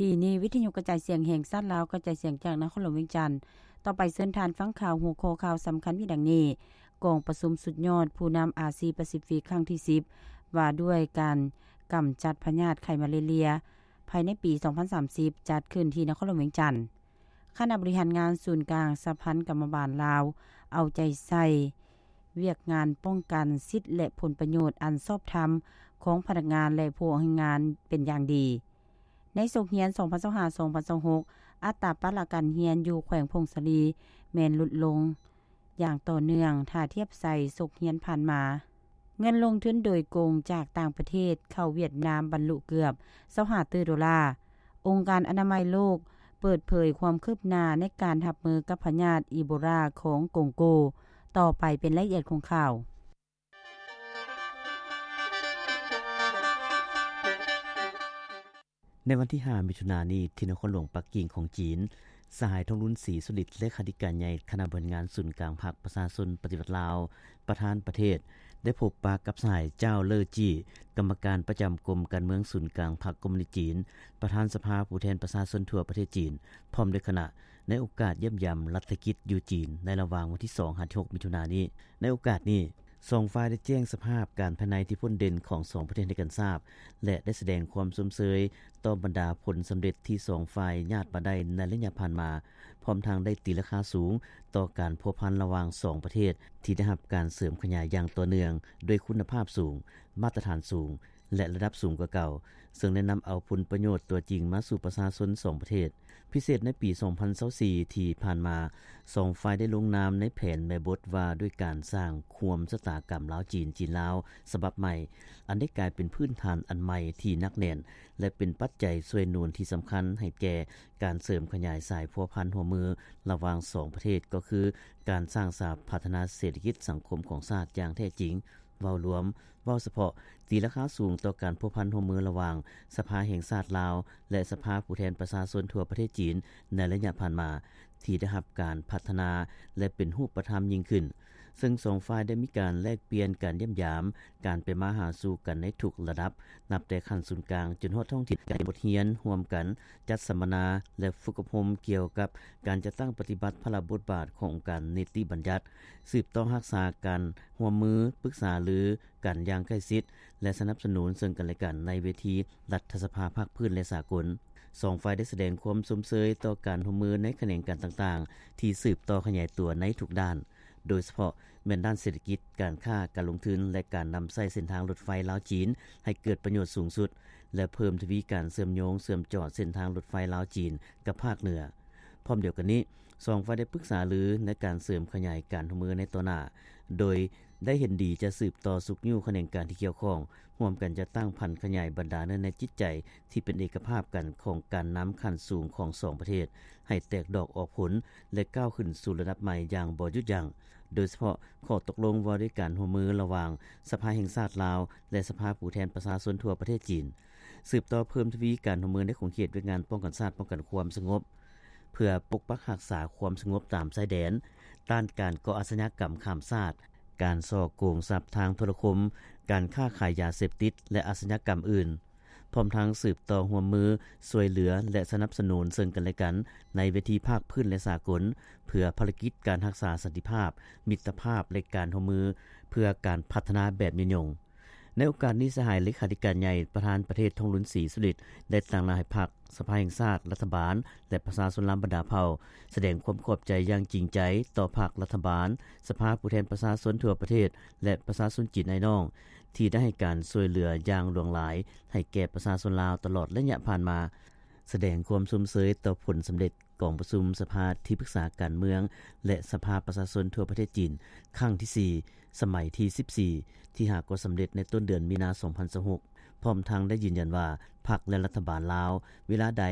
ທີ່ນີ້ ວິທະຍຸກະຈາຍສຽງແຫ່ງຊາດລາວ ກະຈາຍສຽງຈາກນະຄອນຫຼວງວຽງຈັນ. ຕໍ່ໄປເຊີນທ່ານຟັງຂ່າວ ຫົວຂໍ້ຂ່າວສຳຄັນມີດັ່ງນີ້: ກອງປະຊຸມສຸດຍອດຜູ້ນຳອາຊີປາຊີຟິກຄັ້ງທີສິບ ວ່າດ້ວຍການກຳຈັດພະຍາດໄຂ້ມາເລເລຍ ພາຍໃນປີສອງພັນສາມສິບ ຈັດຂຶ້ນທີ່ນະຄອນຫຼວງວຽງຈັນ. ຄະນະບໍລິຫານງານສູນກາງສະຫະພັນກຳມະບານລາວ ເອົາໃຈໃສ່ວຽກງານປ້ອງກັນສິດ ແລະ ຜົນປະໂຫຍດອັນຊອບທຳຂອງພະນັກງານ ແລະ ຜູ້ອອກແຮງງານເປັນຢ່າງດີ. ໃນສົກຮຽນສອງພັນຊາວຫ້າ ສອງພັນຊາວຫົກ ອັດຕາປະລະການຮຽນຢູ່ແຂວງຜົ້ງສາລີແມ່ນຫຼຸດລົງຢ່າງຕໍ່ເນື່ອງ ຖ້າທຽບໃສ່ສົກຮຽນຜ່ານມາ. ເງິນລົງທຶນໂດຍກົງຈາກຕ່າງປະເທດເຂົ້າຫວຽດນາມບັນລຸເກືອບຊາວຫ້າຕື້ໂດລາ. ອົງການອະນາໄມໂລກເປີດເຜີຍຄວາມຄືບໜ້າໃນການຮັບມືກັບພະຍາດອີໂບລາຂອງກົງໂກ. ຕໍ່ໄປເປັນລາຍລະອຽດຂອງຂ່າວ. ໃນວັນທີຫ້າ ມິຖຸນານີ້ ທີ່ນະຄອນຫຼວງປັກກິ່ງຂອງຈີນ, ສະຫາຍ ທອງລຸນ ສີສຸລິດ ເລຂາທິການໃຫຍ່ຄະນະບໍລິຫານງານສູນກາງພັກປະຊາຊົນປະຕິວັດລາວ ປະທານປະເທດ ໄດ້ພົບປະກັບສະຫາຍ ຈ້າວ ເລີຈີ້ ກຳມະການປະຈຳກົມການເມືອງສູນກາງພັກຄອມມູນິດຈີນ, ປະທານສະພາຜູ້ແທນປະຊາຊົນທົ່ວປະເທດຈີນ ພ້ອມດ້ວຍຄະນະ ໃນໂອກາດຢ້ຽມຢາມລັດຖະກິດຢູ່ຈີນ ໃນລະຫວ່າງວັນທີສອງ ຫາ ທີຫົກ ມິຖຸນານີ້. ໃນໂອກາດນີ້, ສອງຝ່າຍໄດ້ແຈ້ງສະພາບການພາຍໃນທີ່ພົ້ນເດັ່ນຂອງສອງປະເທດໃຫ້ກັນຊາບ ແລະ ໄດ້ສະແດງຄວາມຊົມເຊີຍຕໍ່ບັນດາຜົນສຳເລັດທີ່ສອງຝ່າຍຍາດມາໄດ້ໃນໄລຍະຜ່ານມາ, ພ້ອມທັງໄດ້ຕີລາຄາສູງຕໍ່ການພົວພັນລະຫວ່າງສອງປະເທດ ທີ່ໄດ້ຮັບການເສີມຂະຫຍາຍຢ່າງຕໍ່ເນື່ອງດ້ວຍຄຸນນະພາບສູງ, ມາດຕະຖານສູງ ແລະ ລະດັບສູງກວ່າເກົ່າ, ເຊິ່ງໄດ້ນຳເອົາຜົນປະໂຫຍດຕົວຈິງມາສູ່ປະຊາຊົນສອງປະເທດ. ພິເສດໃນປີສອງພັນຊາວສີ່ທີ່ຜ່ານມາ, ສອງຝ່າຍໄດ້ລົງນາມໃນແຜນແມ່ບົດວ່າດ້ວຍການສ້າງຮ່ວມຊະຕາກຳລາວ-ຈີນ, ຈີນ-ລາວ ສະບັບໃໝ່, ອັນໄດ້ກາຍເປັນພື້ນຖານອັນໃໝ່ທີ່ໜັກແໜ້ນ ແລະ ເປັນປັດໄຈຊ່ວຍໜູນທີ່ສຳຄັນໃຫ້ແກ່ການເສີມຂະຫຍາຍສາຍພົວພັນຮ່ວມມືລະຫວ່າງສອງປະເທດ, ກໍຄືການສ້າງສາພັດທະນາເສດຖະກິດສັງຄົມຂອງຊາດຢ່າງແທ້ຈິງ. ເວົ້າລວມ, ເວົ້າສະເພາະ, ຕີລາຄາສູງຕໍ່ການພົວພັນຮ່ວມມືລະຫວ່າງສະພາແຫ່ງຊາດລາວ ແລະ ສະພາຜູ້ແທນປະຊາຊົນທົ່ວປະເທດຈີນໃນໄລຍະຜ່ານມາ ທີ່ໄດ້ຮັບການພັດທະນາ ແລະ ເປັນຮູບປະທຳຍິ່ງຂຶ້ນ, ເຊິ່ງສອງຝ່າຍໄດ້ມີການແລກປ່ຽນການຢ້ຽມຢາມ, ການໄປມາຫາສູ່ກັນໃນທຸກລະດັບ, ນັບແຕ່ຂັ້ນສູນກາງຈົນຮອດທ້ອງຖິ່ນ, ການຮຽນບົດຮຽນຮ່ວມກັນ, ຈັດສຳມະນາ ແລະ ຝຶກອົບຮົມກ່ຽວກັບການຈັດຕັ້ງປະຕິບັດພາລະບົດບາດຂອງອົງການນິຕິບັນຍັດ, ສືບຕໍ່ຮັກສາການຮ່ວມມື, ປຶກສາລືກັນຢ່າງໃກ້ຊິດ ແລະ ສະໜັບສະໜູນເຊິ່ງກັນແລະກັນໃນເວທີລັດຖະສະພາພາກພື້ນ ແລະ ສາກົນ. ສອງຝ່າຍໄດ້ສະແດງຄວາມຊົມເຊີຍຕໍ່ການຮ່ວມມືໃນຂະແໜງການຕ່າງໆ ທີ່ສືບຕໍ່ຂະຫຍາຍຕົວໃນທຸກດ້ານ, ໂດຍສະເພາະແມ່ນດ້ານເສດຖະກິດ, ການຄ້າ, ການລົງທຶນ ແລະ ການນຳໃຊ້ເສັ້ນທາງລົດໄຟລາວ-ຈີນໃຫ້ເກີດປະໂຫຍດສູງສຸດ ແລະ ເພີ່ມທະວີການເຊື່ອມໂຍງເຊື່ອມຈອດເສັ້ນທາງລົດໄຟລາວ-ຈີນກັບພາກເໜືອ. ພ້ອມດຽວກັນນີ້, ສອງຝ່າຍໄດ້ປຶກສາລືໃນການເສີມຂະຫຍາຍການຮ່ວມມືໃນຕໍ່ໜ້າ, ໂດຍໄດ້ເຫັນດີຈະສືບຕໍ່ຊຸກຍູ້ຂະແໜງການທີ່ກ່ຽວຂ້ອງ, ຮ່ວມກັນຈັດຕັ້ງຜັນຂະຫຍາຍບັນດາເນື້ອໃນຈິດໃຈທີ່ເປັນເອກະພາບກັນຂອງການນຳຂັ້ນສູງຂອງສອງປະເທດ ໃຫ້ແຕກດອກອອກຜົນ ແລະ ກ້າວຂຶ້ນສູ່ລະດັບໃໝ່ຢ່າງບໍ່ຢຸດຢັ້ງ, ໂດຍສະເພາະຂໍ້ຕົກລົງວ່າດ້ວຍການຮ່ວມມືລະຫວ່າງສະພາແຫ່ງຊາດລາວ ແລະ ສະພາຜູ້ແທນປະຊາຊົນທົ່ວປະເທດຈີນ. ສືບຕໍ່ເພີ່ມທະວີການຮ່ວມມືໃນຂົງເຂດວຽກງານປ້ອງກັນຊາດ, ປ້ອງກັນຄວາມສະຫງົບ, ເພື່ອປົກປັກຮັກສາຄວາມສະຫງົບຕາມຊາຍແດນ, ຕ້ານການກໍ່ອາຊະຍາກຳຂ້າມຊາດ, ການສໍ້ໂກງຊັບທາງໂທລະຄົມ, ການຄ້າຂາຍຢາເສບຕິດ ແລະ ອາຊະຍາກຳອື່ນ, ພ້ອມທັງສືບຕໍ່ຮ່ວມມືຊ່ວຍເຫຼືອ ແລະ ສະໜັບສະໜູນເຊິ່ງກັນແລະກັນໃນເວທີພາກພື້ນ ແລະ ສາກົນ, ເພື່ອພາລະກິດການຮັກສາສັນຕິພາບ, ມິດຕະພາບ ແລະ ການຮ່ວມມືເພື່ອການພັດທະນາແບບຍືນຍົງ. ໃນໂອກາດນີ້, ສະຫາຍເລຂາທິການໃຫຍ່ປະທານປະເທດ ທອງລຸນ ສີສຸລິດ ໄດ້ຕາງໜ້າໃຫ້ພັກ, ສະພາແຫ່ງຊາດ, ລັດຖະບານ ແລະ ປະຊາຊົນລາວບັນດາເຜົ່າ ສະແດງຄວາມຂອບໃຈຢ່າງຈິງໃຈຕໍ່ພັກ, ລັດຖະບານ, ສະພາຜູ້ແທນປະຊາຊົນທົ່ວປະເທດ ແລະ ປະຊາຊົນຈີນອ້າຍນ້ອງ ທີ່ໄດ້ໃຫ້ການຊ່ວຍເຫຼືອຢ່າງຫຼວງຫຼາຍໃຫ້ແກ່ປະຊາຊົນລາວຕະຫຼອດໄລຍະຜ່ານມາ, ສະແດງຄວາມຊົມເຊີຍຕໍ່ຜົນສຳເລັດ ກອງປະຊຸມສະພາທີ່ປຶກສາການເມືອງ ແລະ ສະພາປະຊາຊົນທົ່ວປະເທດຈີນ ຄັ້ງທີສີ່ ສະໄໝທີສິບສີ່ ທີ່ຫາກໍສຳເລັດໃນຕົ້ນເດືອນມີນາ ສອງພັນຊາວຫົກ ພ້ອມທັງໄດ້ຢືນຢັນວ່າ ພັກ ແລະ ລັດຖະບານລາວ ເວລາໃດ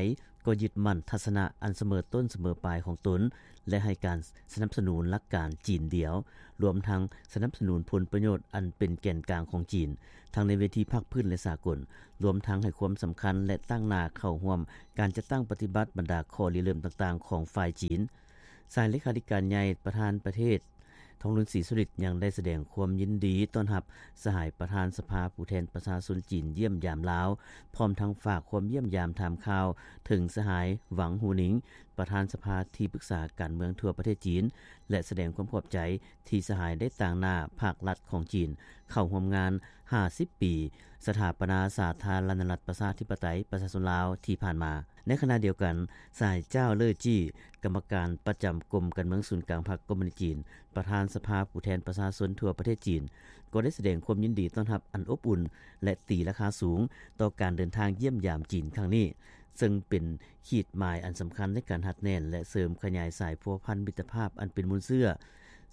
ກໍຍຶດໝັ້ນທັດສະນະອັນສະເໝີຕົ້ນສະເໝີປາຍຂອງຕົນ ແລະ ໃຫ້ການສະໜັບສະໜູນຫຼັກການຈີນດຽວ, ລວມທັງສະໜັບສະໜູນຜົນປະໂຫຍດອັນເປັນແກນກາງຂອງຈີນ ທັງໃນເວທີພາກພື້ນ ແລະ ສາກົນ, ລວມທັງໃຫ້ຄວາມສຳຄັນ ແລະ ຕັ້ງໜ້າເຂົ້າຮ່ວມການຈັດຕັ້ງປະຕິບັດບັນດາຂໍ້ລິເລີ່ມຕ່າງໆຂອງຝ່າຍຈີນ. ສະຫາຍເລຂາທິການໃຫຍ່ປະທານປະເທດ ທອງລຸນ ສີສຸລິດ ຍັງໄດ້ສະແດງຄວາມຍິນດີຕ້ອນຮັບສະຫາຍປະທານສະພາຜູ້ແທນປະຊາຊົນຈີນຢ້ຽມຢາມລາວ, ພ້ອມທັງຝາກຄວາມຢ້ຽມຢາມຖາມຂ່າວເຖິງສະຫາຍ ຫວັງ ຫູໜິງ ປະທານສະພາທີ່ປຶກສາການເມືອງທົ່ວປະເທດຈີນ ແລະ ສະແດງຄວາມຂອບໃຈທີ່ສະຫາຍໄດ້ຕາງໜ້າພາກລັດຂອງຈີນເຂົ້າຮ່ວມງານຫ້າສິບປີສະຖາປະນາສາທາລະນະລັດປະຊາທິປະໄຕປະຊາຊົນລາວທີ່ຜ່ານມາ. ໃນຂະນະດຽວກັນ, ສະຫາຍ ຈ້າວ ເລີ້ ຈີ້ ກຳມະການປະຈຳກົມການເມືອງສູນກາງພັກຄອມມູນິດຈີນ, ປະທານສະພາຜູ້ແທນປະຊາຊົນທົ່ວປະເທດຈີນ ກໍໄດ້ສະແດງຄວາມຍິນດີຕ້ອນຮັບອັນອົບອຸ່ນ ແລະ ຕີລາຄາສູງຕໍ່ການເດີນທາງຢ້ຽມຢາມຈີນຄັ້ງນີ້, ເຊິ່ງເປັນຂີດໝາຍອັນສຳຄັນໃນການຮັດແໜ້ນ ແລະ ເສີມຂະຫຍາຍສາຍພົວພັນມິດຕະພາບອັນເປັນມູນເຊື້ອ.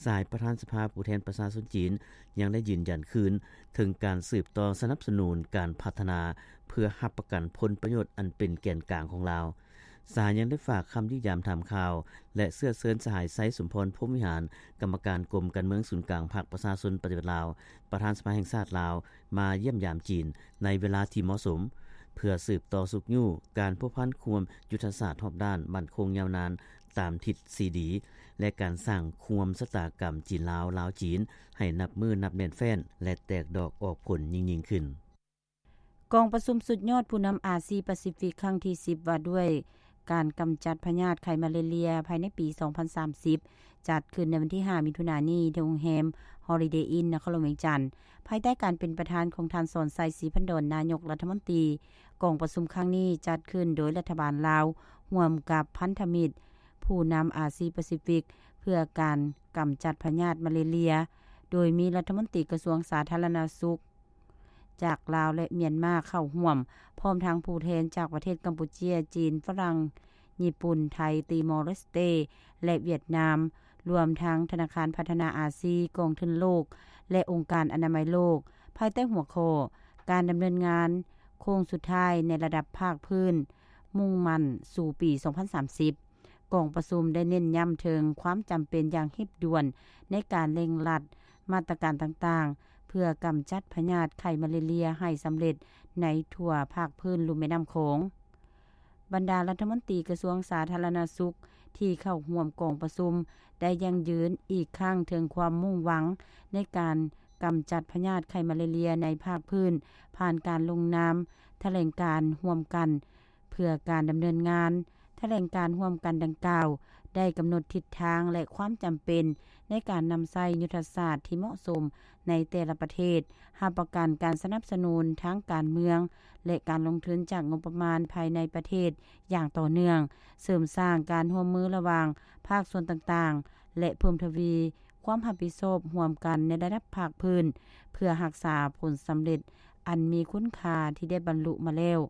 ສະຫາຍປະທານສະພາຜູ້ແທນປະຊາຊົນຈີນ ຍັງໄດ້ຢືນຢັນຄືນເຖິງການສືບຕໍ່ສະໜັບສະໜູນການພັດທະນາ ເພື່ອຮັບປະກັນຜົນປະໂຫຍດອັນເປັນແກນກາງຂອງລາວ. ສະຫາຍຍັງໄດ້ຝາກຄຳຢ້ຽມຢາມຖາມຂ່າວ ແລະ ເຊື້ອເຊີນສະຫາຍ ໄຊສົມພອນ ພົມວິຫານ ກຳມະການກົມການເມືອງສູນກາງພັກປະຊາຊົນປະຕິວັດລາວ, ປະທານສະພາແຫ່ງຊາດລາວ ມາຢ້ຽມຢາມຈີນໃນເວລາທີ່ເໝາະສົມ, ເພື່ອສືບຕໍ່ຊຸກຍູ້ການພົວພັນຮ່ວມຍຸດທະສາດຮອບດ້ານໝັ້ນຄົງຍາວນານຕາມທິດສີ່ດີ ແລະ ການສ້າງຮ່ວມຊະຕາກຳຈີນລາວ, ລາວ-ຈີນ ໃຫ້ນັບມື້ນັບແໜ້ນແຟ້ນ ແລະ ແຕກດອກອອກຜົນຍິ່ງໆຂຶ້ນ. ກອງປະຊຸມສຸດຍອດຜູ້ນຳອາຊີປາຊີຟິກຄັ້ງທີສິບ ວ່າດ້ວຍການກຳຈັດພະຍາດໄຂ້ມາເລເລຍພາຍໃນປີສອງພັນສາມສິບ ຈັດຂຶ້ນໃນວັນທີຫ້າ ມິຖຸນານີ້ ທີ່ໂຮງແຮມ Holiday Inn ນະຄອນຫຼວງວຽງຈັນ ພາຍໃຕ້ການເປັນປະທານຂອງທ່ານ ສອນໄຊ ສີພັນດອນ ນາຍົກລັດຖະມົນຕີ. ກອງປະຊຸມຄັ້ງນີ້ຈັດຂຶ້ນໂດຍລັດຖະບານລາວ ຮ່ວມກັບພັນທະມິດຜູ້ນຳອາຊີປາຊີຟິກ ເພື່ອການກຳຈັດພະຍາດມາເລເລຍ ໂດຍມີລັດຖະມົນຕີກະຊວງສາທາລະນະສຸກ ຈາກລາວ ແລະ ມຽນມາເຂົ້າຮ່ວມ, ພ້ອມທັງຜູ້ແທນຈາກປະເທດກຳປູເຈຍ, ຈີນ, ຝຣັ່ງ, ຍີ່ປຸ່ນ, ໄທ, ຕີມໍເລສເຕ ແລະ ຫວຽດນາມ, ລວມທັງທະນາຄານພັດທະນາອາຊີ, ກອງທຶນໂລກ ແລະ ອົງການອະນາໄມໂລກ, ພາຍໃຕ້ຫົວຂໍ້ ການດຳເນີນງານໂຄ້ງສຸດທ້າຍໃນລະດັບພາກພື້ນ ມຸ່ງໝັ້ນສູ່ປີສອງພັນສາມສິບ. ກອງປະຊຸມໄດ້ເນັ້ນຢ້ຳເຖິງຄວາມຈຳເປັນຢ່າງຮີບດ່ວນໃນການເລັ່ງລັດມາດຕະການຕ່າງໆ ເພື່ອກຳຈັດພະຍາດໄຂ້ມາເລເລຍໃຫ້ສຳເລັດໃນທົ່ວພາກພື້ນລຸ່ມແມ່ນ້ຳຂອງ. ບັນດາລັດຖະມົນຕີກະຊວງສາທາລະນະສຸກທີ່ເຂົ້າຮ່ວມກອງປະຊຸມ ໄດ້ຢັ້ງຢືນອີກຄັ້ງເຖິງຄວາມມຸ່ງຫວັງໃນການກຳຈັດພະຍາດໄຂ້ມາເລເລຍໃນພາກພື້ນ ຜ່ານການລົງນາມຖະແຫຼງການຮ່ວມກັນ ເພື່ອການດຳເນີນງານ. ຖະແຫຼງການຮ່ວມກັນດັ່ງກ່າວ ໄດ້ກຳນົດທິດທາງ ແລະ ຄວາມຈຳເປັນໃນການນຳໃຊ້ຍຸດທະສາດທີ່ເໝາະສົມໃນແຕ່ລະປະເທດ, ຮັບປະກັນການສະໜັບສະໜູນທາງການເມືອງ ແລະ ການລົງທຶນຈາກງົບປະມານພາຍໃນປະເທດຢ່າງຕໍ່ເນື່ອງ, ເສີມສ້າງການຮ່ວມມືລະຫວ່າງພາກສ່ວນຕ່າງໆ ແລະ ເພີ່ມທະວີຄວາມຮັບຜິດຊອບຮ່ວມກັນໃນລະດັບພາກພື້ນ ເພື່ອຮັກສາຜົນສຳເລັດອັນມີຄຸນຄ່າທີ່ໄດ້ບັນລຸມາແລ້ວ.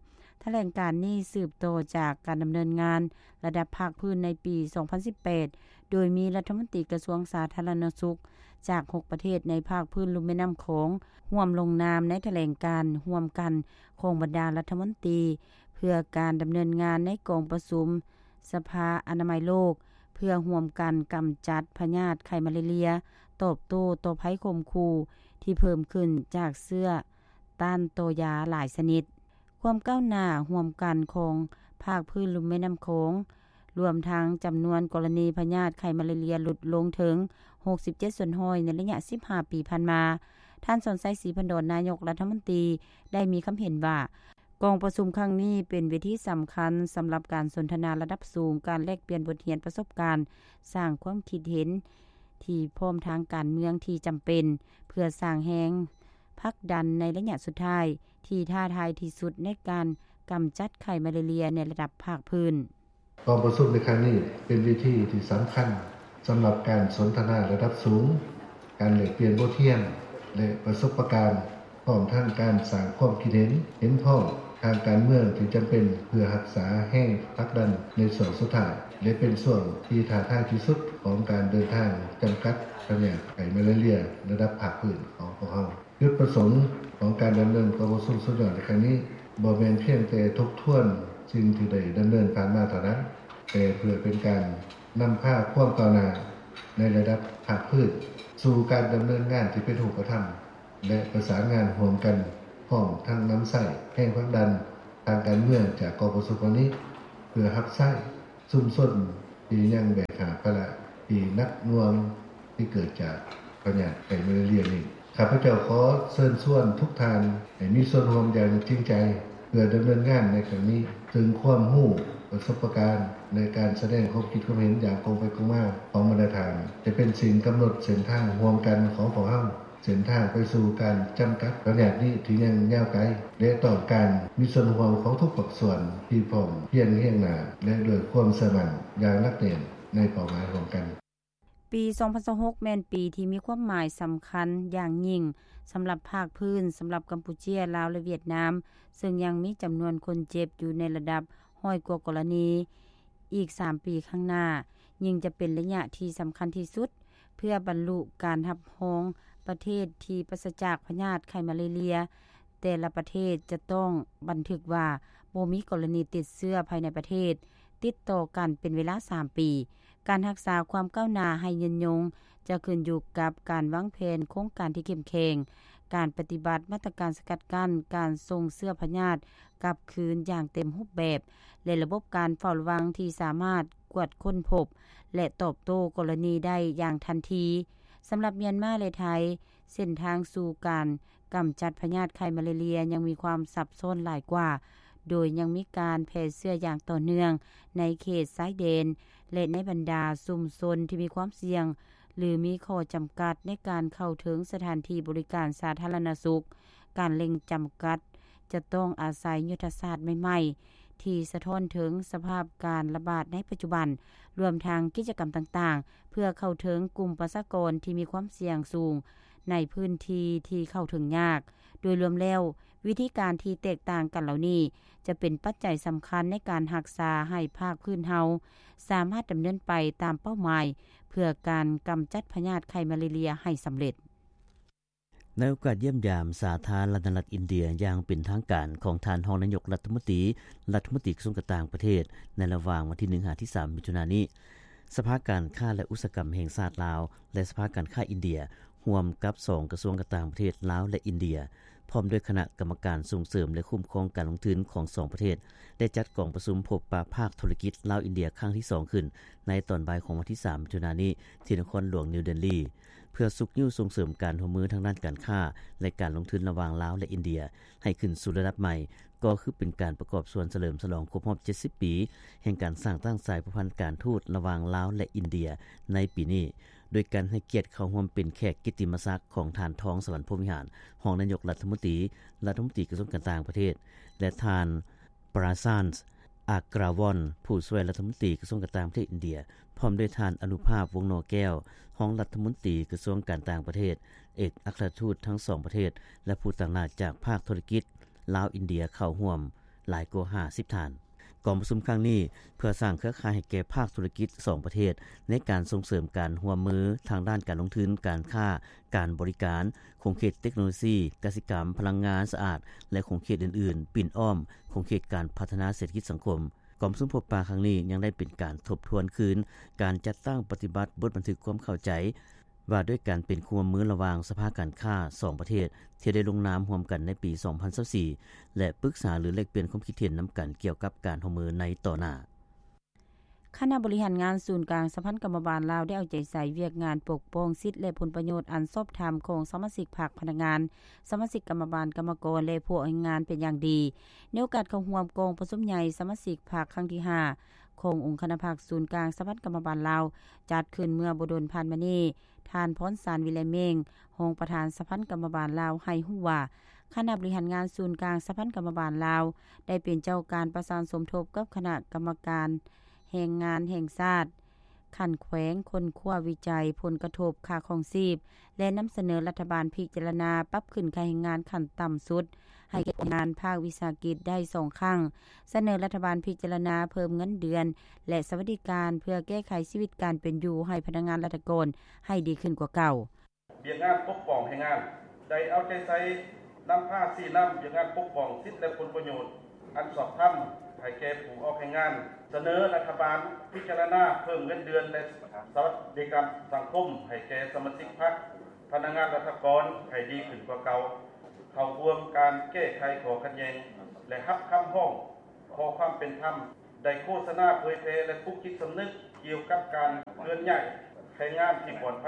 ຖະແຫຼງການນີ້ສືບຕໍ່ຈາກການດຳເນີນງານລະດັບພາກພື້ນໃນປີສອງພັນສິບແປດ ໂດຍມີລັດຖະມົນຕີກະຊວງສາທາລະນະສຸກຈາກຫົກປະເທດໃນພາກພື້ນລຸ່ມແມ່ນ້ຳຂອງ ຮ່ວມລົງນາມໃນຖະແຫຼງການຮ່ວມກັນຂອງບັນດາລັດຖະມົນຕີ ເພື່ອການດຳເນີນງານໃນກອງປະຊຸມສະພາອະນາໄມໂລກ ເພື່ອຮ່ວມກັນກຳຈັດພະຍາດໄຂ້ມາເລເລຍ, ຕອບໂຕ້ຕໍ່ໄພຂົ່ມຂູ່ທີ່ເພີ່ມຂຶ້ນຈາກເຊື້ອຕ້ານຕໍ່ຢາຫຼາຍຊະນິດ. ຄວາມກ້າວໜ້າຮ່ວມກັນຂອງພາກພື້ນລຸ່ມແມ່ນ້ຳຂອງ, ລວມທັງຈຳນວນກໍລະນີພະຍາດໄຂ້ມາເລເລຍຫຼຸດລົງເຖິງຫົກສິບເຈັດສ່ວນຮ້ອຍໃນໄລຍະສິບຫ້າປີຜ່ານມາ. ທ່ານ ສອນໄຊ ສີພັນດອນ ນາຍົກລັດຖະມົນຕີ ໄດ້ມີຄຳເຫັນວ່າ ກອງປະຊຸມຄັ້ງນີ້ເປັນເວທີສຳຄັນສຳລັບການສົນທະນາລະດັບສູງ, ການແລກປ່ຽນບົດຮຽນປະສົບການ, ສ້າງຄວາມຄິດເຫັນທີ່ພ້ອມທາງການເມືອງທີ່ຈຳເປັນ ເພື່ອສ້າງແຮງຜັກດັນໃນໄລຍະສຸດທ້າຍ ທີ່ທ້າທາຍທີ່ສຸດໃນການກຳຈັດໄຂ້ມາເລເລຍໃນລະດັບພາກພື້ນ. ກອງປະຊຸມໃນຄັ້ງນີ້ເປັນເວທີທີ່ສຳຄັນສຳລັບການສົນທະນາລະດັບສູງ, ການແລກປ່ຽນບົດຮຽນ ແລະ ປະສົບປະການ, ພ້ອມທັງການສ້າງຄວາມຄິດເຫັນເຫັນພ້ອມທາງການເມືອງທີ່ຈຳເປັນ ເພື່ອຮັກສາແຮງຜັກດັນໃນຊ່ວງສຸດທ້າຍ ແລະ ເປັນຊ່ວງທີ່ທ້າທາຍທີ່ສຸດຂອງການເດີນທາງຈຳກັດພະຍາດໄຂ້ມາເລເລຍລະດັບພາກພື້ນຂອງພວກເຮົາ. ຈຸດປະສົງຂອງການດຳເນີນກອງປະຊຸມສຸດຍອດໃນຄັ້ງນີ້ ບໍ່ແມ່ນພຽງແຕ່ທົບທວນສິ່ງທີ່ໄດ້ດຳເນີນຜ່ານມາເທົ່ານັ້ນ, ແຕ່ເພື່ອເປັນການນຳພາຄວາມກ້າວໜ້າໃນລະດັບພາກພື້ນ ສູ່ການດຳເນີນງານທີ່ເປັນຮູບປະທຳ ແລະ ປະສານງານຮ່ວມກັນ, ພ້ອມທັງນຳໃຊ້ແຮງຜັກດັນທາງການເມືອງຈາກກອງປະຊຸມຄັ້ງນີ້ ເພື່ອຮັບໃຊ້ຊຸມຊົນທີ່ຍັງແບກຫາບພາລະທີ່ໜັກໜ່ວງ, ເຮັດໃຫ້ ທີ່ເກີດຈາກພະຍາດໄຂ້ມາລາເຣັຽນີ້. ຂ້າພະເຈົ້າຂໍເຊີນຊວນທຸກທ່ານໃຫ້ມີສ່ວນຮ່ວມຢ່າງຈິງໃຈ ເພື່ອດຳເນີນງານໃນຄັ້ງນີ້, ເຊິ່ງຄວາມຮູ້, ປະສົບປະການ ແລະ ການສະແດງຄວາມຄິດຄວາມເຫັນຢ່າງກົງໄປກົງມາຂອງບັນດາທ່ານ ຈະເປັນສິ່ງກຳນົດເສັ້ນທາງຮ່ວມກັນຂອງພວກເຮົາ, ເສັ້ນທາງໄປສູ່ການຈຳກັດພະຍາດນີ້ທີ່ຍັງຍາວໄກ ແລະ ຕ້ອງການມີສ່ວນຮ່ວມຂອງທຸກພາກສ່ວນທີ່ພ້ອມພຽງຮຽງໜ້າ ແລະ ດ້ວຍຄວາມເຊື່ອໝັ້ນຢ່າງໜັກແໜ້ນໃນເປົ້າໝາຍຮ່ວມກັນ. ປີສອງພັນຊາວຫົກ ແມ່ນປີທີ່ມີຄວາມໝາຍສຳຄັນຢ່າງຍິ່ງສຳລັບພາກພື້ນ, ສຳລັບກຳປູເຈຍ, ລາວ ແລະ ຫວຽດນາມ, ເຊິ່ງຍັງມີຈຳນວນຄົນເຈັບຢູ່ໃນລະດັບຮ້ອຍກວ່າກໍລະນີ. ອີກສາມປີຂ້າງໜ້າ, ຍິ່ງຈະເປັນໄລຍະທີ່ສຳຄັນທີ່ສຸດ ເພື່ອບັນລຸການຮັບຮອງປະເທດທີ່ປາສະຈາກພະຍາດໄຂ້ມາລາເຣັຽ. ແຕ່ລະປະເທດຈະຕ້ອງບັນທຶກວ່າບໍ່ມີກໍລະນີຕິດເຊື້ອພາຍໃນປະເທດຕິດຕໍ່ກັນເປັນເວລາສາມປີ. ການຮັກສາຄວາມກ້າວໜ້າໃຫ້ຍືນຍົງຈະຂຶ້ນຢູ່ກັບການວາງແຜນໂຄງການທີ່ເຂັ້ມແຂງ, ການປະຕິບັດມາດຕະການສະກັດກັ້ນການສົ່ງເຊື້ອພະຍາດກັບຄືນຢ່າງເຕັມຮູບແບບ ແລະ ລະບົບການເຝົ້າລະວັງທີ່ສາມາດກວດຄົ້ນພົບ ແລະ ຕອບໂຕ້ກໍລະນີໄດ້ຢ່າງທັນທີ. ສຳລັບມຽນມາ ແລະ ໄທ, ເສັ້ນທາງສູ່ການກຳຈັດພະຍາດໄຂ້ມາລາເຣັຽຍັງມີຄວາມຊັບຊ້ອນຫຼາຍກວ່າ, ໂດຍຍັງມີການແຜ່ເຊື້ອຢ່າງຕໍ່ເນື່ອງໃນເຂດຊາຍແດນ ແລະ ໃນບັນດາຊຸມຊົນທີ່ມີຄວາມສ່ຽງ ຫຼື ມີຂໍ້ຈຳກັດໃນການເຂົ້າເຖິງສະຖານທີ່ບໍລິການສາທາລະນະສຸກ. ການເລັ່ງຈຳກັດຈະຕ້ອງອາໄສຍຸດທະສາດໃໝ່ໆ ທີ່ສະທ້ອນເຖິງສະພາບການລະບາດໃນປັດຈຸບັນ, ລວມທັງກິດຈະກຳຕ່າງໆ ເພື່ອເຂົ້າເຖິງກຸ່ມປະຊາກອນທີ່ມີຄວາມສ່ຽງສູງໃນພື້ນທີ່ທີ່ເຂົ້າເຖິງຍາກ. ໂດຍລວມແລ້ວ, ວິທີການທີ່ແຕກຕ່າງກັນເຫຼົ່ານີ້ ຈະເປັນປັດໄຈສຳຄັນໃນການຮັກສາໃຫ້ພາກພື້ນເຮົາສາມາດດຳເນີນໄປຕາມເປົ້າໝາຍ ເພື່ອການກຳຈັດພະຍາດໄຂ້ມາລາເຣັຽໃຫ້ສຳເລັດ. ໃນໂອກາດຢ້ຽມຢາມສາທາລະນະລັດອິນເດຍຢ່າງເປັນທາງການຂອງທ່ານຮອງນາຍົກລັດຖະມົນຕີ, ລັດຖະມົນຕີກະຊວງການຕ່າງປະເທດ ໃນລະຫວ່າງວັນທີໜຶ່ງຫາທີສາມມິຖຸນານີ້, ສະພາການຄ້າ ແລະ ອຸດສາຫະກຳແຫ່ງຊາດລາວ ແລະ ສະພາການຄ້າອິນເດຍ ຮ່ວມກັບສອງກະຊວງການຕ່າງປະເທດລາວ ແລະ ອິນເດຍ ພ້ອມດ້ວຍຄະນະກຳມະການສົ່ງເສີມ ແລະ ຄຸ້ມຄອງການລົງທຶນຂອງສອງປະເທດ ໄດ້ຈັດກອງປະຊຸມພົບປະພາກທຸລະກິດລາວ-ອິນເດຍຄັ້ງທີສອງຂຶ້ນ ໃນຕອນບ່າຍຂອງວັນທີສາມມິຖຸນານີ້ ທີ່ນະຄອນຫຼວງນິວເດລີ. ເພື່ອຊຸກຍູ້ສົ່ງເສີມການຮ່ວມມືທາງດ້ານການຄ້າ ແລະ ການລົງທຶນລະຫວ່າງລາວ ແລະ ອິນເດຍ ໃຫ້ຂຶ້ນສູ່ລະດັບໃໝ່, ກໍຄືເປັນການປະກອບສ່ວນສະເຫຼີມສະຫຼອງຄົບຮອບເຈັດສິບປີ ແຫ່ງການສ້າງຕັ້ງສາຍພົວພັນການທູດລະຫວ່າງລາວ ແລະ ອິນເດຍໃນປີນີ້, ໂດຍການໃຫ້ກຽດເຂົ້າຮ່ວມເປັນແຂກກິດຕິມະສັກຂອງທ່ານ ທອງສະຫວັນ ພົມວິຫານ ຮອງນາຍົກລັດຖະມົນຕີ, ລັດຖະມົນຕີກະຊວງການຕ່າງປະເທດ ແລະ ທ່ານ ປຣາຊານ ອາກຣາວອນ ຜູ້ຊ່ວຍລັດຖະມົນຕີກະຊວງການຕ່າງປະເທດອິນເດຍ, ພ້ອມດ້ວຍທ່ານ ອະນຸພາບ ວົງນໍແກ້ວ ຮອງລັດຖະມົນຕີກະຊວງການຕ່າງປະເທດ, ເອກອັກຄະລັດທູດທັງສອງປະເທດ ແລະ ຜູ້ຕາງໜ້າຈາກພາກທຸລະກິດລາວ-ອິນເດຍເຂົ້າຮ່ວມຫຼາຍກວ່າຫ້າສິບທ່ານ. ກອງປະຊຸມຄັ້ງນີ້ເພື່ອສ້າງເຄືອຂ່າຍໃຫ້ແກ່ພາກທຸລະກິດສອງປະເທດ ໃນການສົ່ງເສີມການຮ່ວມມືທາງດ້ານການລົງທຶນ, ການຄ້າ, ການບໍລິການ, ຂົງເຂດເຕັກໂນໂລຊີ, ກະສິກຳ, ພະລັງງານສະອາດ ແລະ ຂົງເຂດອື່ນໆ ປິ່ນອ້ອມຂົງເຂດການພັດທະນາເສດຖະກິດສັງຄົມ. ກອງປະຊຸມພົບປະຄັ້ງນີ້ຍັງໄດ້ເປັນການທົບທວນຄືນການຈັດຕັ້ງປະຕິບັດບົດບັນທຶກຄວາມເຂົ້າໃຈ ວ່າດ້ວຍການເປັນຄູ່ຮ່ວມມືລະຫວ່າງສະພາການຄ້າສອງປະເທດ ທີ່ໄດ້ລົງນາມຮ່ວມກັນໃນປີສອງພັນຊາວສີ່ ແລະ ປຶກສາຫຼືແລກປ່ຽນຄວາມຄິດເຫັນນຳກັນກ່ຽວກັບການຮ່ວມມືໃນຕໍ່ໜ້າ. ຄະນະບໍລິຫານງານສູນກາງສະຫະພັນກຳມະບານລາວ ໄດ້ເອົາໃຈໃສ່ວຽກງານປົກປ້ອງສິດ ແລະ ຜົນປະໂຫຍດອັນຊອບທຳຂອງສະມາຊິກພັກ, ພະນັກງານ, ສະມາຊິກກຳມະບານ, ກຳມະກອນ ແລະ ພວກແຮງງານເປັນຢ່າງດີ. ໃນໂອກາດເຂົ້າຮ່ວມກອງປະຊຸມໃຫຍ່ສະມາຊິກພັກຄັ້ງທີຫ້າ ຂອງອົງຄະນະພັກສູນກາງສະຫະພັນກຳມະບານລາວ ຈັດຂຶ້ນເມື່ອບໍ່ດົນຜ່ານມານີ້, ທ່ານ ພອນສານ ວິໄລເມັງ ຮອງປະທານສະຫະພັນກຳມະບານລາວ ໃຫ້ຮູ້ວ່າ ຄະນະບໍລິຫານງານສູນກາງສະຫະພັນກຳມະບານລາວ ໄດ້ເປັນເຈົ້າການປະສານສົມທົບກັບຄະນະກຳມະການແຮງງານແຫ່ງຊາດ ຂັ້ນແຂວງ ຄົ້ນຄວ້າວິໄຈຜົນກະທົບຄ່າຄອງຊີບ ແລະ ນຳສະເໜີລັດຖະບານພິຈາລະນາປັບຂຶ້ນຄ່າແຮງງານຂັ້ນຕ່ຳສຸດ ໃຫ້ແກ່ພະນັກງານພາກວິສາຫະກິດໄດ້ສອງຄັ້ງ, ສະເໜີລັດຖະບານພິຈາລະນາເພີ່ມເງິນເດືອນ ແລະ ສະຫວັດດີການ ເພື່ອແກ້ໄຂຊີວິດການເປັນຢູ່ໃຫ້ພະນັກງານລັດຖະກອນໃຫ້ດີຂຶ້ນກວ່າເກົ່າ. ວຽກງານປົກປ້ອງແຮງງານ ໄດ້ເອົາໃຈໃສ່ນຳພາຊີ້ນຳວຽກງານປົກປ້ອງສິດ ແລະ ຜົນປະໂຫຍດອັນຊອບທຳໃຫ້ແກ່ຜູ້ອອກແຮງງານ, ສະເໜີລັດຖະບານພິຈາລະນາເພີ່ມເງິນເດືອນ ແລະ ສະຫວັດດີການສັງຄົມໃຫ້ແກ່ສະມາຊິກພັກ, ພະນັກງານລັດຖະກອນໃຫ້ດີຂຶ້ນກວ່າເກົ່າ, ເຂົ້າຮ່ວມການແກ້ໄຂຂໍ້ຂັດແຍ່ງ ແລະ ຮັບຄຳຮ້ອງຂໍຄວາມເປັນທຳ, ໄດ້ໂຄສະນາເຜີຍແຜ່ ແລະ ປຸກຈິດສຳນຶກກ່ຽວກັບການເຄື່ອນຍ້າຍ ແຮງງານທີ່ປອດໄພ,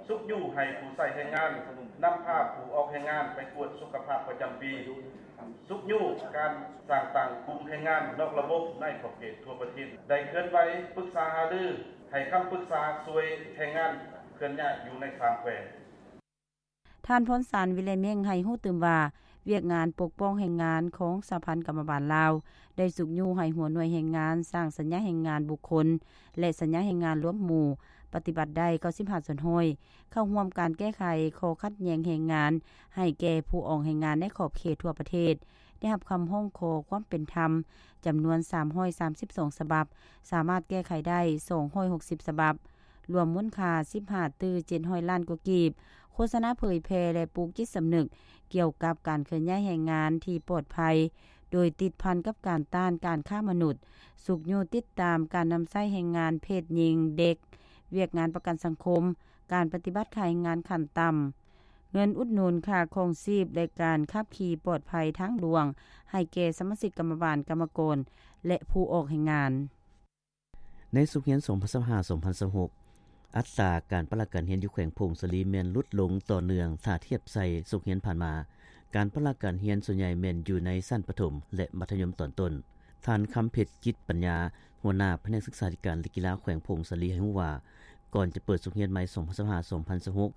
ຊຸກຍູ້ໃຫ້ຜູ້ໃຊ້ແຮງງານນຳພາຜູ້ອອກແຮງງານໄປກວດສຸຂະພາບປະຈຳປີ, ຊຸກຍູ້ການສ້າງຕັ້ງກຸ່ມແຮງງານນອກລະບົບໃນຂອບເຂດທົ່ວປະເທດ, ໄດ້ເຄື່ອນໄຫວປຶກສາຫາລື ໃຫ້ຄຳປຶກສາຊ່ວຍແຮງງານເຄື່ອນຍ້າຍຢູ່ໃນສາມແຂວງ. ທ່ານ ພອນສານ ວິໄລເມັງ ໃຫ້ຮູ້ຕື່ມວ່າ ວຽກງານປົກປ້ອງແຮງງານຂອງສະຫະພັນກຳມະບານລາວ ໄດ້ຊຸກຍູ້ໃຫ້ຫົວໜ່ວຍແຮງງານສ້າງສັນຍາແຮງງານບຸກຄົນ ແລະ ສັນຍາແຮງງານລວມໝູ່ ປະຕິບັດໄດ້ເກົ້າສິບຫ້າສ່ວນຮ້ອຍ ເຂົ້າຮ່ວມການແກ້ໄຂຂໍ້ຂັດແຍ່ງແຮງງານໃຫ້ແກ່ຜູ້ອອກແຮງງານໃນຂອບເຂດທົ່ວປະເທດ ໄດ້ຮັບຄຳຮ້ອງຂໍຄວາມເປັນທຳຈຳນວນສາມຮ້ອຍສາມສິບສອງສະບັບ, ສາມາດແກ້ໄຂໄດ້ສອງຮ້ອຍຫົກສິບສະບັບ. ລວມມູນຄ່າສິບຫ້າຕື້ເຈັດຮ້ອຍລ້ານກວ່າກີບ, ໂຄສະນາເຜີຍແຜ່ ແລະ ປູກຈິດສຳນຶກກ່ຽວກັບການເຄື່ອນຍ້າຍແຮງງານທີ່ປອດໄພ, ໂດຍຕິດພັນກັບການຕ້ານການຄ້າມະນຸດ, ຊຸກຍູ້ຕິດຕາມການນຳໃຊ້ແຮງງານເພດຍິງ, ເດັກ, ວຽກງານປະກັນສັງຄົມ, ການປະຕິບັດຄ່າແຮງງານຂັ້ນຕ່ຳ, ເງິນອຸດໜູນຄ່າຄອງຊີບ ແລະ ການຂັບຂີ່ປອດໄພທາງຫຼວງ ໃຫ້ແກ່ສະມາຊິກກຳມະບານ, ກຳມະກອນ ແລະ ຜູ້ອອກແຮງງານ. ໃນສົກຮຽນສອງພັນຊາວຫ້າ ສອງພັນຊາວຫົກ ອັດຕາການປະລະການຮຽນຢູ່ແຂວງຜົ້ງສາລີແມ່ນຫຼຸດລົງຕໍ່ເນື່ອງ ຖ້າທຽບໃສ່ສົກຮຽນຜ່ານມາ. ການປະລະການຮຽນສ່ວນໃຫຍ່ແມ່ນຢູ່ໃນຊັ້ນປະຖົມ ແລະ ມັດທະຍົມຕອນຕົ້ນ. ທ່ານ ຄຳເພັດ ຈິດປັນຍາ ຫົວໜ້າພະແນກສຶກສາທິການ ແລະ ກິລາແຂວງຜົ້ງສາລີ ໃຫ້ຮູ້ວ່າ ກ່ອນຈະເປີດສົກຮຽນໃໝ່ ສອງພັນຊາວຫ້າ ສອງພັນຊາວຫົກ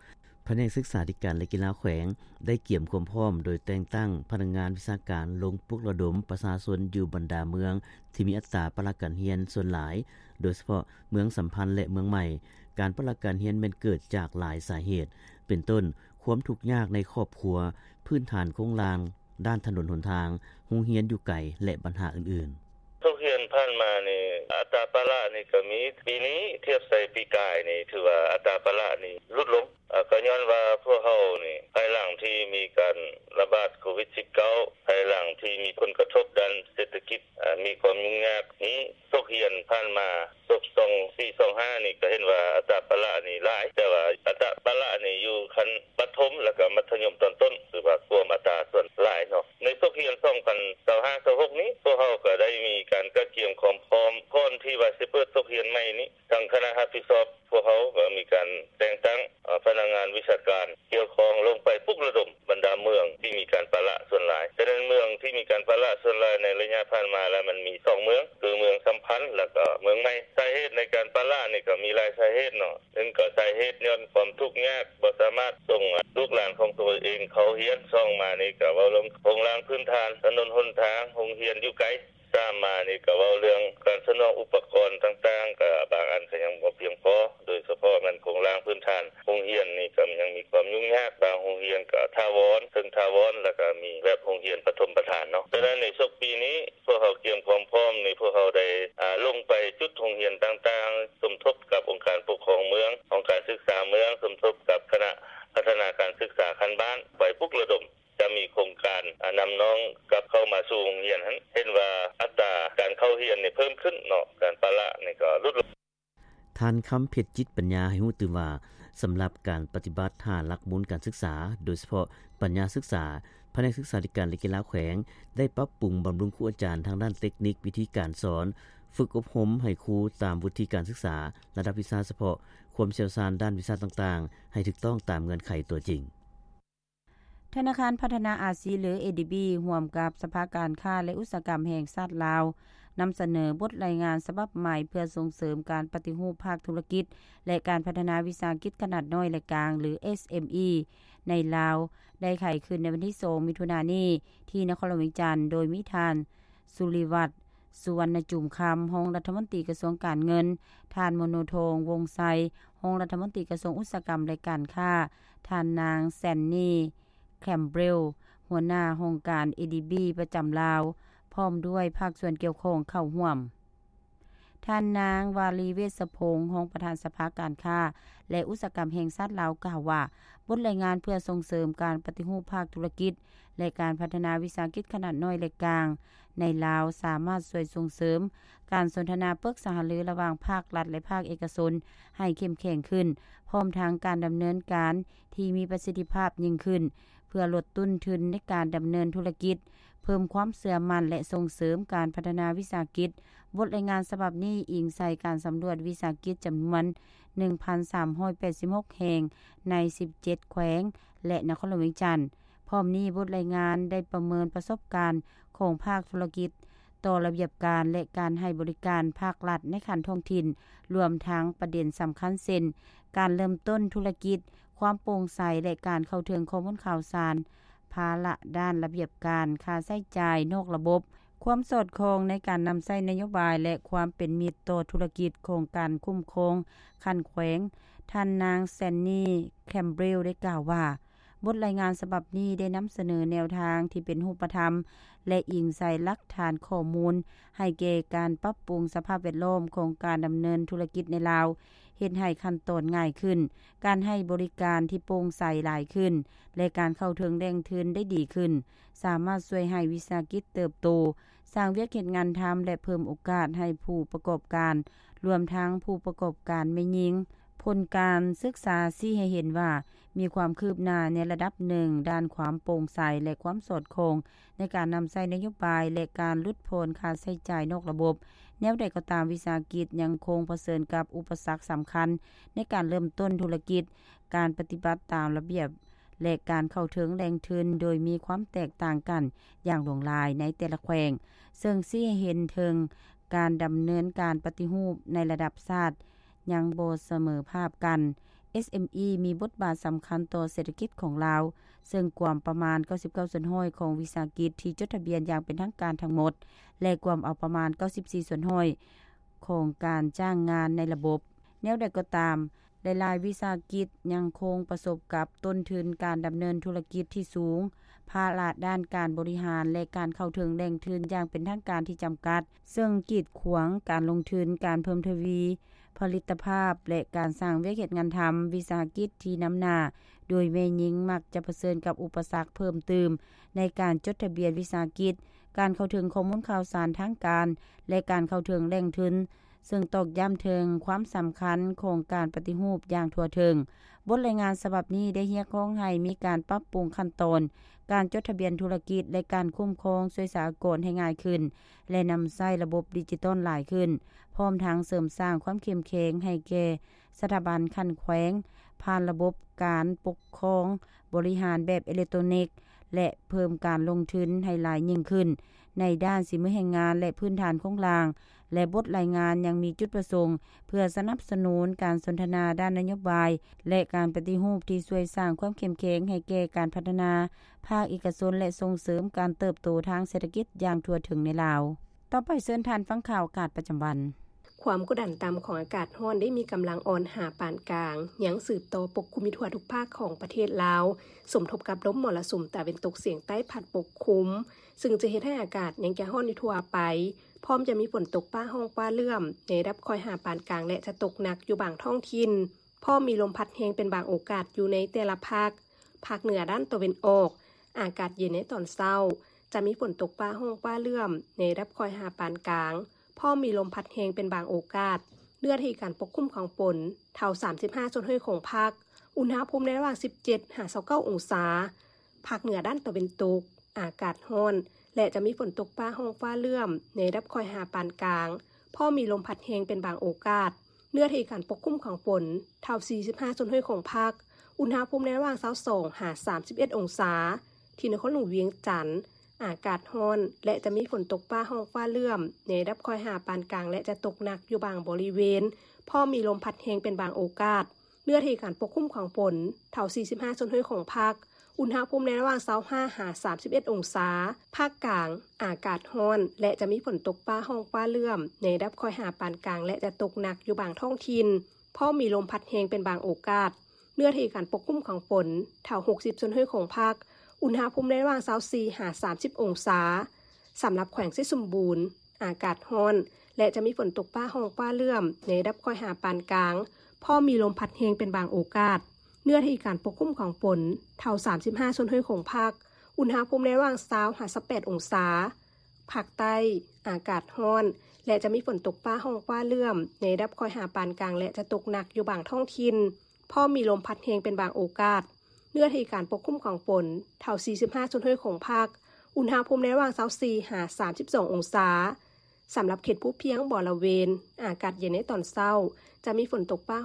ພະແນກສຶກສາທິການ ແລະ ກິລາແຂວງ ໄດ້ກຽມຄວາມພ້ອມໂດຍແຕ່ງຕັ້ງພະນັກງານວິຊາການລົງປຸກລະດົມປະຊາຊົນຢູ່ບັນດາເມືອງທີ່ມີອັດຕາປະລະການຮຽນສ່ວນຫຼາຍ, ໂດຍສະເພາະເມືອງສຳພັນ ແລະ ເມືອງໃໝ່. ການປະລະການຮຽນແມ່ນເກີດຈາກຫຼາຍສາເຫດ, ເປັນຕົ້ນ ຄວາມທຸກຍາກໃນຄອບຄົວ, ພື້ນຖານໂຄງລ່າງດ້ານຖະໜົນຫົນທາງ, ໂຮງຮຽນຢູ່ໄກ ແລະ ບັນຫາອື່ນໆ. ສົກຮຽນຜ່ານມານີ້ ອັດຕາປະລະນີ້ກໍມີ, ປີນີ້ທຽບໃສ່ປີກາຍນີ້ ຖືວ່າອັດຕາປະລະນີ້ຫຼຸດລົງ. ອາ ກໍຍ້ອນວ່າພວກເຮົານີ້ ພາຍຫຼັງທີ່ມີການລະບາດໂຄວິດສິບເກົ້າ ພາຍຫຼັງທີ່ມີຜົນກະທົບດ້ານເສດຖະກິດ ອາ ມີຄວາມຫຍຸ້ງຍາກນີ້ ສົກຮຽນຜ່ານມາ ສົກສອງສີ່ ສອງຫ້ານີ້ ກໍເຫັນວ່າອັດຕາປະລະນີ້ຫຼາຍ, ແຕ່ວ່າອັດຕາປະລະນີ້ຢູ່ຂັ້ນປະຖົມ ແລ້ວກໍມັດທະຍົມຕອນຕົ້ນ ຖືວ່າກວມອັດຕາສ່ວນຫຼາຍເນາະ. ໃນສົກຮຽນສອງພັນຊາວຫ້າ ຊາວຫົກນີ້ ພວກເຮົາກໍໄດ້ມີການກະກຽມຄວາມພ້ອມ ກ່ອນທີ່ວ່າຊິເປີດສົກຮຽນໃໝ່ນີ້ ທາງຄະນະຮັບຜິດຊອບ ພວກເຮົາກໍມີການແຕ່ງຕັ້ງ ເອີ ພະນັກງານວິຊາການກ່ຽວຂ້ອງລົງໄປປຸກລະດົມບັນດາເມືອງທີ່ມີການປະລະສ່ວນຫຼາຍ. ສະນັ້ນ ເມືອງທີ່ມີການປະລະສ່ວນຫຼາຍໃນໄລຍະຜ່ານມາລະ ມັນມີສອງເມືອງ ຄືເມືອງສຳພັນ ແລ້ວກໍເມືອງໃໝ່. ສາເຫດໃນການປະລະນີ້ກໍມີຫຼາຍສາເຫດເນາະ. ໜຶ່ງກໍສາເຫດຍ້ອນຄວາມທຸກຍາກ ບໍ່ສາມາດສົ່ງລູກຫຼານຂອງຕົວເອງເຂົ້າຮຽນ. ສອງມານີ້ກໍເວົ້າເລື່ອງໂຄງລ່າງພື້ນຖານ, ຖະໜົນຫົນທາງ, ໂຮງຮຽນຢູ່ໄກ. ສາມມານີ້ກໍເວົ້າເລື່ອງການສະໜອງອຸປະກອນຕ່າງໆ ກໍບາງອັນກໍຍັງບໍ່ພຽງພໍ, ໂດຍສະເພາະແມ່ນໂຄງລ່າງພື້ນຖານໂຮງຮຽນນີ້ກໍຍັງມີຄວາມຫຍຸ້ງຍາກ, ບາງໂຮງຮຽນກໍຖາວອນ, ເຊິ່ງຖາວອນ ແລ້ວກໍມີແບບໂຮງຮຽນປະຖົມປະຖານເນາະ. ສະນັ້ນໃນສົກປີນີ້ ພວກເຮົາກຽມຄວາມພ້ອມນີ້ ພວກເຮົາໄດ້ ອາ ລົງໄປຈຸດໂຮງຮຽນຕ່າງໆ, ສົມທົບກັບອົງການປົກຄອງເມືອງ, ຫ້ອງການສຶກສາເມືອງ, ສົມທົບກັບຄະນະພັດທະນາການສຶກສາຂັ້ນບ້ານ ໄປປຸກລະດົມ ຈະມີໂຄງການ ອາ ນຳນ້ອງກັບເຂົ້າມາສູ່ໂຮງຮຽນຫັ້ນ ເຫັນວ່າອັດຕາການເຂົ້າຮຽນນີ້ເພີ່ມຂຶ້ນເນາະ, ການປະລະນີ້ກໍຫຼຸດລົງ. ທ່ານ ຄຳເພັດ ຈິດປັນຍາ ໃຫ້ຮູ້ຕື່ມວ່າ ສຳລັບການປະຕິບັດຫ້າຫຼັກມູນການສຶກສາ, ໂດຍສະເພາະປັນຍາສຶກສາ, ພະແນກສຶກສາທິການ ແລະ ກິລາແຂວງ ໄດ້ປັບປຸງບຳລຸງຄູອາຈານທາງດ້ານເຕັກນິກ, ວິທີການສອນ, ຝຶກອົບຮົມໃຫ້ຄູຕາມວຸດທິການສຶກສາ, ລະດັບວິຊາສະເພາະ, ຄວາມຊ່ຽວຊານດ້ານວິຊາຕ່າງໆ ໃຫ້ຖືກຕ້ອງຕາມເງື່ອນໄຂຕົວຈິງ. ທະນາຄານພັດທະນາອາຊີ ຫຼື ເອດີບີ ຮ່ວມກັບສະພາການຄ້າ ແລະ ອຸດສາຫະກຳແຫ່ງຊາດລາວ ນຳສະເໜີບົດລາຍງານສະບັບໃໝ່ ເພື່ອສົ່ງເສີມການປະຕິຮູບພາກທຸລະກິດ ແລະ ການພັດທະນາວິສາຫະກິດຂະໜາດນ້ອຍ ແລະ ກາງ ຫຼື ເອສເອັມອີ ໃນລາວ ໄດ້ໄຂຂຶ້ນໃນວັນທີສອງ ມິຖຸນານີ້ ທີ່ນະຄອນຫຼວງວຽງຈັນ, ໂດຍມີທ່ານ ສຸລິວັດ ສຸວັນນະຈູມຄຳ ຮອງລັດຖະມົນຕີກະຊວງການເງິນ, ທ່ານ ໂມໂນທອງ ວົງໄຊ ຮອງລັດຖະມົນຕີກະຊວງອຸດສາຫະກຳ ແລະ ການຄ້າ, ທ່ານນາງ ແຊນນີ ແຄມເບຣວ ຫົວໜ້າຫ້ອງການ ເອດີບີ ປະຈຳລາວ ພ້ອມດ້ວຍພາກສ່ວນກ່ຽວຂ້ອງເຂົ້າຮ່ວມ. ທ່ານນາງ ວາລີ ເວດສະພົງ ຮອງປະທານສະພາການຄ້າ ແລະ ອຸດສາຫະກຳແຫ່ງຊາດລາວ ກ່າວວ່າ ບົດລາຍງານເພື່ອສົ່ງເສີມການປະຕິຮູບພາກທຸລະກິດ ແລະ ການພັດທະນາວິສາຫະກິດຂະໜາດນ້ອຍ ແລະ ກາງ ໃນລາວ ສາມາດຊ່ວຍສົ່ງເສີມການສົນທະນາປຶກສາຫາລືລະຫວ່າງພາກລັດ ແລະ ພາກເອກະຊົນໃຫ້ເຂັ້ມແຂງຂຶ້ນ, ພ້ອມທັງການດຳເນີນການທີ່ມີປະສິດທິພາບຍິ່ງຂຶ້ນ ເພື່ອລົດຕົ້ນທຶນໃນການດຳເນີນທຸລະກິດ, ເພີ່ມຄວາມເຊື່ອໝັ້ນ ແລະ ສົ່ງເສີມການພັດທະນາວິສາຫະກິດ. ບົດລາຍງານສະບັບນີ້ອີງໃສ່ການສຳຫຼວດວິສາຫະກິດຈຳນວນ ໜຶ່ງພັນສາມຮ້ອຍແປດສິບຫົກ ແຫ່ງ ໃນ ສິບເຈັດ ແຂວງ ແລະ ນະຄອນຫຼວງວຽງຈັນ. ພ້ອມນີ້, ບົດລາຍງານໄດ້ປະເມີນປະສົບການຂອງພາກທຸລະກິດຕໍ່ລະບຽບການ ແລະ ການໃຫ້ບໍລິການພາກລັດໃນຂັ້ນທ້ອງຖິ່ນ, ລວມທັງປະເດັນສຳຄັນເຊັ່ນ ການເລີ່ມຕົ້ນທຸລະກິດ, ຄວາມໂປ່ງໃສ ແລະ ການເຂົ້າເຖິງຂໍ້ມູນຂ່າວສານ, ພາລະດ້ານລະບຽບການ, ຄ່າໃຊ້ຈ່າຍນອກລະບົບ, ຄວາມສອດຄ່ອງໃນການນຳໃຊ້ນະໂຍບາຍ ແລະ ຄວາມເປັນມິດຕໍ່ທຸລະກິດຂອງການຄຸ້ມຄອງຂັ້ນແຂວງ. ທ່ານນາງ ແຊນນີ ແຄມເບຣວ ໄດ້ກ່າວວ່າ, ບົດລາຍງານສະບັບນີ້ໄດ້ນຳສະເໜີແນວທາງທີ່ເປັນຮູບປະທຳ ແລະ ອີງໃສ່ຫຼັກຖານຂໍ້ມູນ ໃຫ້ແກ່ການປັບປຸງສະພາບແວດລ້ອມຂອງການດຳເນີນທຸລະກິດໃນລາວ, ເຮັດໃຫ້ຂັ້ນຕອນງ່າຍຂຶ້ນ, ການໃຫ້ບໍລິການທີ່ໂປ່ງໃສຫຼາຍຂຶ້ນ ແລະ ການເຂົ້າເຖິງແຫຼ່ງທຶນໄດ້ດີຂຶ້ນ, ສາມາດຊ່ວຍໃຫ້ວິສາຫະກິດເຕີບໂຕ, ສ້າງວຽກເຮັດງານທຳ ແລະ ເພີ່ມໂອກາດໃຫ້ຜູ້ປະກອບການ, ລວມທັງຜູ້ປະກອບການແມ່ຍິງ. ຜົນການສຶກສາຊີ້ໃຫ້ເຫັນວ່າ ມີຄວາມຄືບໜ້າໃນລະດັບໜຶ່ງດ້ານຄວາມໂປ່ງໃສ ແລະ ຄວາມສອດຄ່ອງໃນການນຳໃຊ້ນະໂຍບາຍ ແລະ ການຫຼຸດຜ່ອນຄ່າໃຊ້ຈ່າຍນອກລະບົບ. ແນວໃດກໍຕາມ, ວິສາຫະກິດຍັງຄົງປະເຊີນກັບອຸປະສັກສຳຄັນໃນການເລີ່ມຕົ້ນທຸລະກິດ, ການປະຕິບັດຕາມລະບຽບ ແລະ ການເຂົ້າເຖິງແຫຼ່ງທຶນໂດຍມີຄວາມແຕກຕ່າງກັນຢ່າງຫຼວງຫຼາຍໃນແຕ່ລະແຂວງ, ເຊິ່ງຊີ້ໃຫ້ເຫັນເຖິງການດຳເນີນການປະຕິຮູບໃນລະດັບຊາດຍັງບໍ່ສະເໝີພາບກັນ. ເອສເອັມອີ ມີບົດບາດສຳຄັນຕໍ່ເສດຖະກິດຂອງລາວ, ເຊິ່ງກວມປະມານ ເກົ້າສິບເກົ້າສ່ວນຮ້ອຍ ຂອງວິສາຫະກິດທີ່ຈົດທະບຽນຢ່າງເປັນທາງການທັງໝົດ ແລະ ກວມເອົາປະມານ ເກົ້າສິບສີ່ສ່ວນຮ້ອຍ ຂອງການຈ້າງງານໃນລະບົບ. ແນວໃດກໍຕາມ, ຫຼາຍໆວິສາຫະກິດຍັງຄົງປະສົບກັບຕົ້ນທຶນການດຳເນີນທຸລະກິດທີ່ສູງ, ພາລະດ້ານການບໍລິຫານ ແລະ ການເຂົ້າເຖິງແຫຼ່ງທຶນຢ່າງເປັນທາງການທີ່ຈຳກັດ, ເຊິ່ງກີດຂວາງການລົງທຶນ, ການເພີ່ມທະວີຜະລິດຕະພາບ ແລະ ການສ້າງວຽກເຮັດງານທຳ. ວິສາຫະກິດທີ່ນຳໜ້າໂດຍແມ່ຍິງມັກຈະປະເຊີນກັບອຸປະສັກເພີ່ມຕື່ມໃນການຈົດທະບຽນວິສາຫະກິດ, ການເຂົ້າເຖິງຂໍ້ມູນຂ່າວສານທາງການ ແລະ ການເຂົ້າເຖິງແຫຼ່ງທຶນ, ເຊິ່ງຕອກຢ້ຳເຖິງຄວາມສຳຄັນຂອງການປະຕິຮູບຢ່າງທົ່ວເຖິງ. ບົດລາຍງານສະບັບນີ້ໄດ້ຮຽກຮ້ອງໃຫ້ມີການປັບປຸງຂັ້ນຕອນການຈົດທະບຽນທຸລະກິດ ແລະ ການຄຸ້ມຄອງຊ່ວຍສາອາກອນໃຫ້ງ່າຍຂຶ້ນ ແລະ ນຳໃຊ້ລະບົບດິຈິຕອນຫຼາຍຂຶ້ນ, ພ້ອມທັງເສີມສ້າງຄວາມເຂັ້ມແຂງໃຫ້ແກ່ສະຖາບັນຂັ້ນແຂວງ ຜ່ານລະບົບການປົກຄອງບໍລິຫານແບບເອເລັກໂຕນິກ ແລະ ເພີ່ມການລົງທຶນໃຫ້ຫຼາຍຍິ່ງຂຶ້ນໃນດ້ານສີມືແຮງງານ ແລະ ພື້ນຖານໂຄງລ່າງ. ແລະ ບົດລາຍງານຍັງມີຈຸດປະສົງເພື່ອສະໜັບສະໜູນການສົນທະນາດ້ານນະໂຍບາຍ ແລະ ການປະຕິຮູບທີ່ຊ່ວຍສ້າງຄວາມເຂັ້ມແຂງໃຫ້ແກ່ການພັດທະນາພາກເອກະຊົນ ແລະ ສົ່ງເສີມການເຕີບໂຕທາງເສດຖະກິດຢ່າງທົ່ວເຖິງໃນລາວ. ຕໍ່ໄປເຊີນທ່ານຟັງຂ່າວອາກາດປະຈຳວັນ. ຄວາມກົດດັນຕ່ຳຂອງອາກາດຮ້ອນໄດ້ມີກຳລັງອ່ອນຫາປານກາງ ຍັງສືບຕໍ່ປົກຄຸມຢູ່ທົ່ວທຸກພາກຂອງປະເທດລາວ, ສົມທົບກັບລົມມໍລະສຸມຕາເວັນຕົກສຽງໃຕ້ພັດປົກຄຸມ, ຊຶ່ງຈະເຮັດໃຫ້ອາກາດຍັງຈະຮ້ອນຢູ່ທົ່ວໄປ, ພ້ອມຈະມີຝົນຕົກຟ້າຮ້ອງຟ້າເຫຼື້ອມໃນລະດັບຄ່ອຍຫາປານກາງ ແລະ ຈະຕົກໜັກຢູ່ບາງທ້ອງຖິ່ນ, ພ້ອມມີລົມພັດແຮງເປັນບາງໂອກາດຢູ່ໃນແຕ່ລະພາກ. ພາກເໜືອດ້ານຕາເວັນອອກ, ອາກາດເຢັນໃນຕອນເຊົ້າ, ຈະມີຝົນຕົກຟ້າຮ້ອງຟ້າເຫຼື້ອມໃນລະດັບຄ່ອຍຫາປານກາງ, ພ້ອມມີລົມພັດແຮງເປັນບາງໂອກາດ, ເນື້ອທີ່ການປົກຄຸມຂອງຝົນເທົ່າສາມສິບຫ້າສ່ວນຮ້ອຍຂອງພາກ, ອຸນຫະພູມໃນລະຫວ່າງສິບເຈັດຫາຊາວເກົ້າອົງສາ. ພາກເໜືອດ້ານຕາເວັນຕົກ, ອາກາດຮ້ອນ ແລະ ຈະມີຝົນຕົກຟ້າຮ້ອງຟ້າເຫຼື້ອມໃນລະດັບຄ່ອຍຫາປານກາງ, ພ້ອມມີລົມພັດແຮງເປັນບາງໂອກາດ, ເນື້ອທີ່ການປົກຄຸມຂອງຝົນເທົ່າສີ່ສິບຫ້າສ່ວນຮ້ອຍຂອງພາກ, ອຸນຫະພູມໃນລະຫວ່າງຊາວສອງຫາສາມສິບເອັດອົງສາ. ທີ່ນະຄອນຫຼວງວຽງຈັນ, ອາກາດຮ້ອນ ແລະ ຈະມີຝົນຕົກຟ້າຮ້ອງຟ້າເຫຼື້ອມໃນລະດັບຄ່ອຍຫາປານກາງ ແລະ ຈະຕົກໜັກຢູ່ບາງບໍລິເວນ, ພ້ອມມີລົມພັດແຮງເປັນບາງໂອກາດ, ເນື້ອທີ່ການປົກຄຸມຂອງຝົນເທົ່າສີ່ສິບຫ້າສ່ວນຮ້ອຍຂອງພາກ, ອຸນຫະພູມໃນລະຫວ່າງຊາວຫ້າຫາສາມສິບເອັດອົງສາ. ພາກກາງ, ອາກາດຮ້ອນ ແລະ ຈະມີຝົນຕົກຟ້າຮ້ອງຟ້າເຫຼື້ອມໃນລະດັບຄ່ອຍຫາປານກາງ ແລະ ຈະຕົກໜັກຢູ່ບາງທ້ອງຖິ່ນ, ພ້ອມມີລົມພັດແຮງເປັນບາງໂອກາດ, ເນື້ອທີ່ການປົກຄຸມຂອງຝົນເທົ່າຫົກສິບສ່ວນຮ້ອຍຂອງພາກ, ອຸນຫະພູມໃນລະຫວ່າງຊາວສີ່ຫາສາມສິບອົງສາ. ສຳລັບແຂວງໄຊສົມບູນ, ອາກາດຮ້ອນ ແລະ ຈະມີຝົນຕົກຟ້າຮ້ອງຟ້າເຫຼື້ອມໃນລະດັບຄ່ອຍຫາປານກາງ, ພ້ອມມີລົມພັດແຮງເປັນບາງໂອກາດ, ເນື້ອທີ່ການປົກຄຸມຂອງຝົນເທົ່າສາມສິບຫ້າສ່ວນຮ້ອຍຂອງພາກ, ອຸນຫະພູມໃນລະຫວ່າງຊາວຫາຊາວແປດອົງສາ. ພາກໃຕ້, ອາກາດຮ້ອນ ແລະ ຈະມີຝົນຕົກຟ້າຮ້ອງຟ້າເຫຼື້ອມໃນລະດັບຄ່ອຍຫາປານກາງ ແລະ ຈະຕົກໜັກຢູ່ບາງທ້ອງຖິ່ນ, ພ້ອມມີລົມພັດແຮງເປັນບາງໂອກາດ, ເນື້ອທີ່ການປົກຄຸມຂອງຝົນເທົ່າສີ່ສິບຫ້າສ່ວນຮ້ອຍຂອງພາກ, ອຸນຫະພູມໃນລະຫວ່າງຊາວສີ່ຫາສາມສິບສອງອົງສາ. ສຳລັບເຂດພູພຽງບໍລະເວນ ອາກາດເຢັນໃນຕອນເຊົ້າ, ຈະມີຝົນຕົກຟ້າ